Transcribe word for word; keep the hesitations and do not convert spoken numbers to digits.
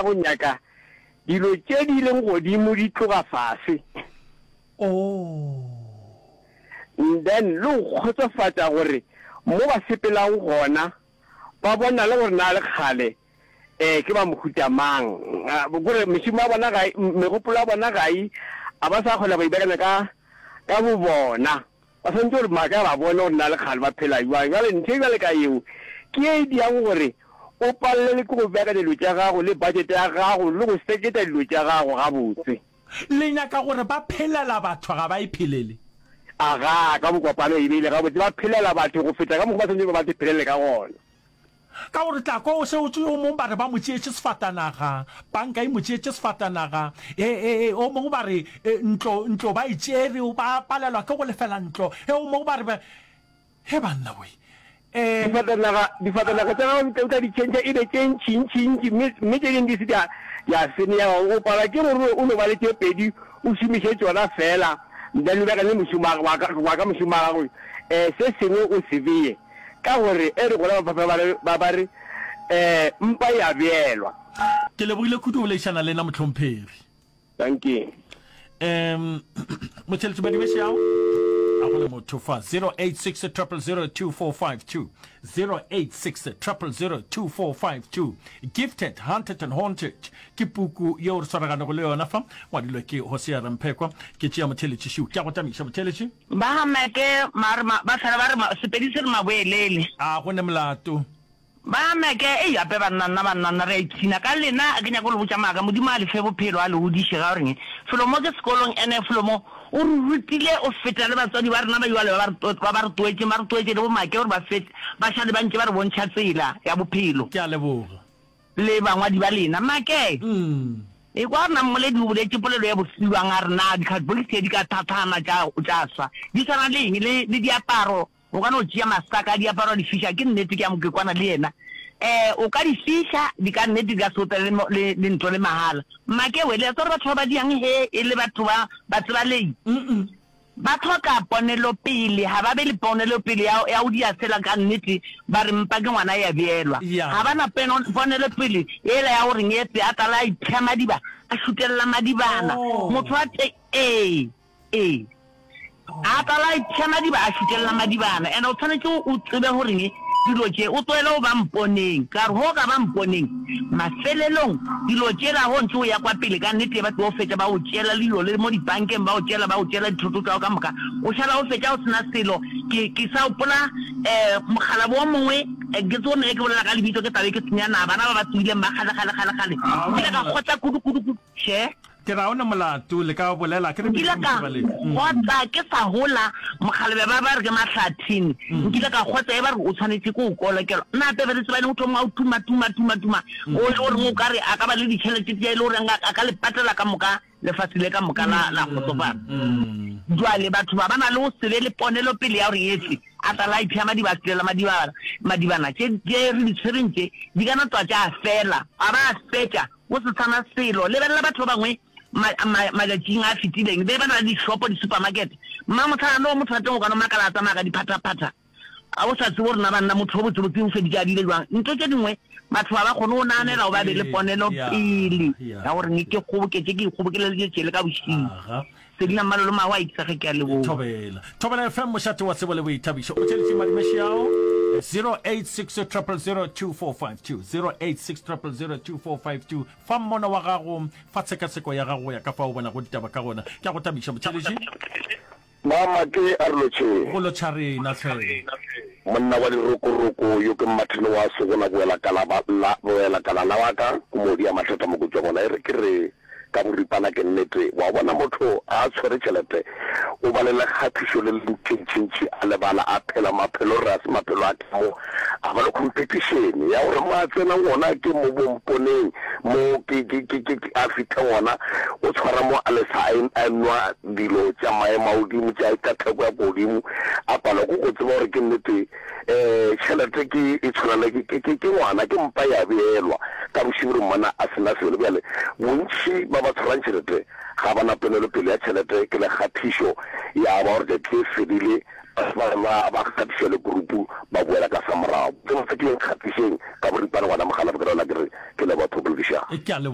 Go nyaka dilo tše di leng godimo di tloga fase. Oh. Then le go kgotsofatša gore mo ba sepelago gona ba bona le gore na le kgale um ke ba mohuta mang. Kore mešomo ya bona ga e, megopolo ya bona ga e, a ba sa kgona go ibeakanya ka ka bobona. Ba swanetše gore maaka ba bone gore na le kgale ba phela bjang. Bjale ntho e bjale ka yeo ke ye e diago gore o palelwe ke go beakanya dilo tša gago le budget ya gago le go seketa dilo tša gago gabotse. Le nyaka gore ba phelela batho ga ba e phelele? Agaa, ka bokopano e beile gabotse, ba phelela batho go feta ka mokgwa ba swanetšego ba ba phelele ka gona. Ka gore tla kwa o se o yo mongwe ba re ba mo tšeetše sefatanaga, panka e mo tšeetše sefatanaga, e, e, e, o mongwe ba re e, ntlo, ntlo ba e tšere, ba palelwa ke go lefela ntlo, e, o mongwe ba re ba, he banna we, e. Difatanaga, difatanaga tša gago o tla di tšhentšha e be tše ntši-ntši-ntši, mme, mme tše dingwe di se tša, tša senyega. O palwa ke gore o no ba le tše pedi, o šomiše tšona feela, then o beakanye mošomo wa, wa ka mošomo wa gago, e, se sengwe o se bee. Ka gore e re gona ba ba re, ba ba re, eh, mpa e a beelwa. Ke lebogile kudu go boledišana le na mohlomphegi. Dankie. Um motheletši Madibešiao a go le motho fa zero eight six triple zero two four five two zero eight six triple zero two four five two Gifted, Hunted and Haunted ke puku yeo re swaraganego le yona fa ngwadilwe ke Hosea Ramphekwa. Ke tšea motheletši šiu ke a go tamiša motheletši. Ba ga Meke ba re ba fela ba re Sepedi se re maboelele. A go ne molato. Ba ga Meke, ei gape banna nna banna nna re a ipshina ka lena a ke nyake go le botša maaka Modimo a le fe bophelo a le godiše ga goreng felo mo ke sekolong ene felo mo o re rutile o feta le batswadi ba rena ba jwale ba ba ba re toetšeng ba re toetše le bo Make gore ba fete ba šale ba ntše ba re bontšha tsela ya bophelo. Ke a leboga. Le bangwadi ba lena. Make, ekwa gore na mmoledi o boletše polelo ya bose bjang, a re, Na dikhatbokisi di ka thathana tša, tša swa? Di swana le eng? Le, le diaparo, o ka no tšea masaka a diaparo wa di fiša. Ke nnete, ke a mo, ke kwana le yena. Eh, o ka di fiša, di ka nnete di ka se opele le, le, le ntlo le mahala. Make we, le a tseba gore batho ba ba diang he e le batho ba, batsebalei? Ba hloka ponelopele, ga ba be le ponelopele ya, ya go dia sela ka nnete, ba re mpa ke ngwana ya beelwa. Ga ba na peno, ponelopele yela ya gore ngetse a tlala a ipha madiba, a šutelela madibana. Motho a te, ee, ee. A tlala a ipha madiba, a šutelela madibana. And o tshwanetše o tsebe gore Dilo tše o tlohele go ba mponeng. Ka re, Go ka ba mponeng? Mafelelong, dilo tšela go ntše o ya kwa pele, ka nnete ba tlo fetša ba go tšeela le dilo le mo dipankeng, ba go tšeela, ba go tšeela dithoto tša gago ka moka. O šala o fetša o se na selo. Ke, ke sa gopola um mokgalabje o mongwe, ke tsebe gore ne ke bolela ka lebitso ke tla be ke senya na, bana ba ba tsohileng ba kgale, kgale, kgale, kgale. Nkile ka kgotsa kudu, kudu, kudu. Še. Ke ra o ne molato, le ka bolela, ke re Nkile ka kgotsa ke sa gola, mokgalabje ba ba re ke Mahlathini, nkile ka kgotsa e ba re o tshwanetše ke go kolokelwa. Nna gape re tsebane o thoma o tuma, tuma, tuma, tuma, o le goreng o ka re a ka ba le ditšhelete tše e le goreng a ka le patela ka moka lefase le ka moka la, la kgotsofala. Jwale batho ba ba na le go se be le ponelopele ya gore etse a tla la ipha madiba a selela madibana, madibana tše, tše re di tshwereng tše di ka no tloga tša fela, a ba a fetša Go se sa na selo. Lebelela batho ba bangwe ma, ma, matšatšing a fetileng, be ba na le dishopo, disupamakete. Mmamohlala no motho wa teng o ka no makala a tsamaya ka diphathaphatha, a o sa tsebe gore na banna motho yo botsebotse o feditše a bile jwang. Ntho tše dingwe batho ga ba kgone go naganela go ba be le ponelo pele ya gore ne ke kgoboketše, ke ikgobokeleditše tšele ka bošego. Selina Mmalolo Mago a itsege ke a leboga. Thobela. Thobela F M mošate wa tsebo le boithabišo. O theletše Madimešiao zero eight six triple zero two four five two zero eight six triple zero two four five two Fa mmono wa gago, fa tshekatsheko ya gago go ya ka fao o bonago ditaba ka gona. Ke a go thabiša motheeletši. Mama ke a re lotšheng. Go lotšha rena hle. Monna wa dirokoroko yo ke Mmathene wa Segola boela kala ba la boela kala la wa ka ko modi ya mathata mo kotšwa gona e re ke re ka boripana ke nnete wa bona motho a tshwere tšhelete o ba le lekgathišo le le ntšintšintši a lebala a phela maphelo re a se maphelo a ka mo a ba le competition ya gore mo a tsenang gona ke mo bomponeng mo ke ke ke ke a fihla gona o tshwara mo a lesa a nwa dilo tša maemo a godimo tša tša theko ya godimo a palwa ke go tseba gore ke nnete um tšhelete ke e tshwana le ke ke ke ngwana ke mpa ya beelwa ka bošego re mmona a sena selo bjale bontši ba ba tshwarang tšhelete ga ba na ponelopele ya tšhelete, ke le kgathišo ya ba gore tšatši le fedile batho ba ba kgathiša le group ba boela ka sa morago. Ke botse ke kgathišeng ka boripana ngwana Mokgalabje ke rela ke re ke leboga thopoledišano. Ke a leboga.